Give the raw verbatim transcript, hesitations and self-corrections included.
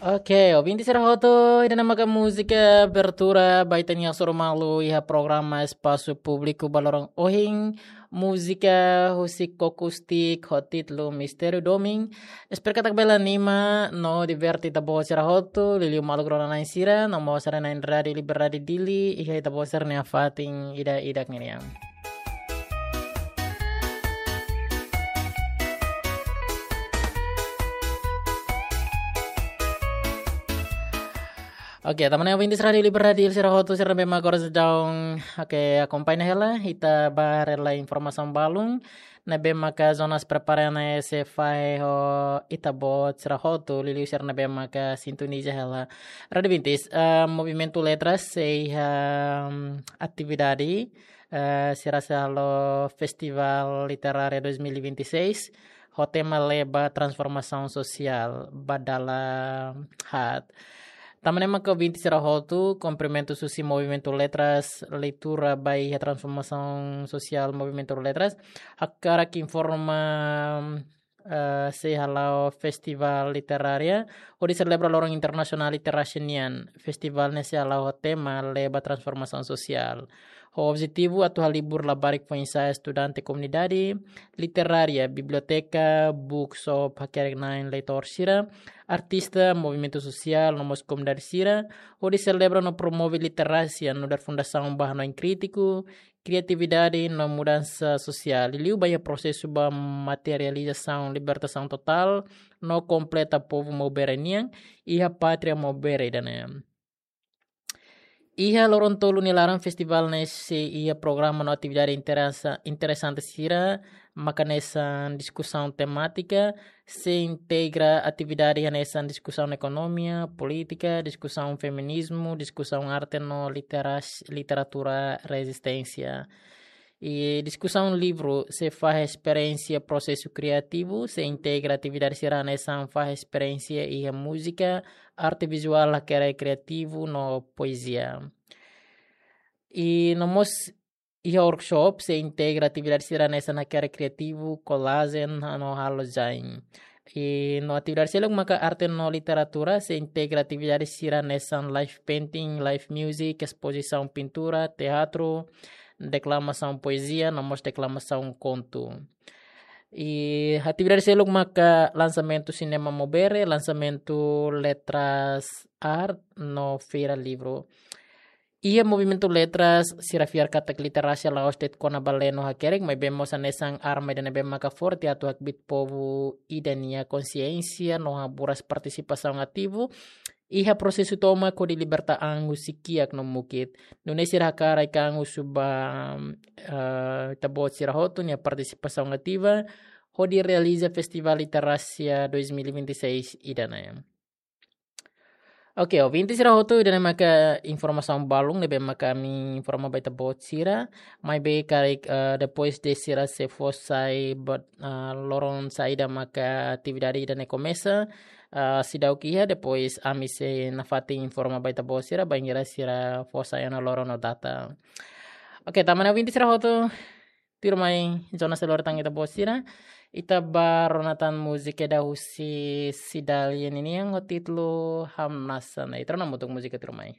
Oke, ouvinte sira hotu, ida-ne'e maka múzika abertura ba ita-nia hasoru malu iha programa Espasu Públiku ba loron ohin, múzika husi Kokustik ho títulu Mistériu Domin. Espera katak bele anima no diverte ita-boot sira hotu, liuliu maluk rona-na'in sira, no mós sira na'in Rádiu Liberdade Dili, iha ita-boot sira-nia fatin ida-idak ninian. Oke, tanba ne'e ouvinte Rádiu Liberdade Dili sira hotu sira ne'ebé mak agora daudaun, oke, akompaña hela, ita bá haree lai informasaun balun, ne'ebé maka Jonas prepara ona sei fahe ho ita-boot sira hotu, liuliu sira ne'ebé maka sintoniza hela. Rádiu Vintis, eh, Movimentu Letras sei iha, mm, atividade, eh, sira sei halo Festival Literária dois mil e vinte e seis, ho tema Lee ba Transformasaun Sosiál, ba dala haat. Tanba ne'e maka ouvinte sira hotu, kumprimentu husi Movimentu Letras, leitura ba iha transformasaun sosiál Movimentu Letras, hakarak informa, eh, sei hala'o Festival Literária, hodi selebra Loron Internasionál Literasia nian. Festival ne'e sei hala'o ho tema Lee ba Transformasaun Sosiál. Ho objetivu atu halibur labarik foin-sa'e, estudante, komunidade literária, biblioteka, bookshop, hakerek-na'in leitór sira, artista, movimentu sosiál, no mós komunidade sira, hodi selebra no promove literasia, nu'udar fundasaun ba hanoin krítiku, kriatividade no mudansa sosiál. Liuliu ba iha prosesu ba materializasaun libertasaun totál no kompleta povu Maubere nian, iha pátria Maubere ida-ne'e. Iha loron tolu nia laran festival ne'e sei iha programa no atividade interesa-, interesante sira, maka hanesan diskusaun temátika, sei integra atividade hanesan diskusaun ekonomia, polítika, diskusaun feminizmu, diskusaun arte no literas-, literatura rezisténsia. I diskusaun livru sei fahe esperiénsia prosesu kriativu, sei integra atividade sira hanesan fahe esperiénsia iha múzika, arte vizuál, hakerek kriativu no poezia. I no mós iha workshop sei integra atividade sira hanesan hakerek kriativu, kolajen, no halo design. I no atividade seluk maka arte no literatura sei integra atividade sira hanesan live painting, live music, espozisaun pintura, teatru, deklamasaun poezia, no mós deklamasaun kontu. I atividade seluk maka lansamentu sinema Maubere, lansamentu letras art, no feira livru. Iha Movimentu Letras, sira fiar katak literasia la'ós de'it kona-ba lee no hakerek, maibé mós hanesan arma ida ne'ebé maka forte atu hakbiit povu ida nia konsiénsia no haburas partisipasaun ativu iha prosesu tomak hodi liberta an husi kiak no mukit. Nune'e sira hakarak an husu ba, eh, ita-boot sira hotu nia partisipasaun ativa hodi realiza Festival Literasia dois mil e vinte e seis ida-ne'e. Oke, ouvinte sira hotu, ida-ne'e maka informasaun balun ne'ebé maka ami informa ba ita-boot sira, maibé karik, eh, depois de sira sei fó sai ba, eh, loron saida maka atividade ida-ne'e komesa, eh, seidauk iha, depois ami sei nafatin informa ba ita-boot sira, bainhira sira fó sai ona loron no data. Oke, tanba ne'e ouvinte sira hotu, tuirmai Jonas sei lori tan ita-boot sira, ita bá rona tan múzika ida husi Cidalia ninian ho títulu Hamnasa. Ita rona hamutuk múzika tuirmai.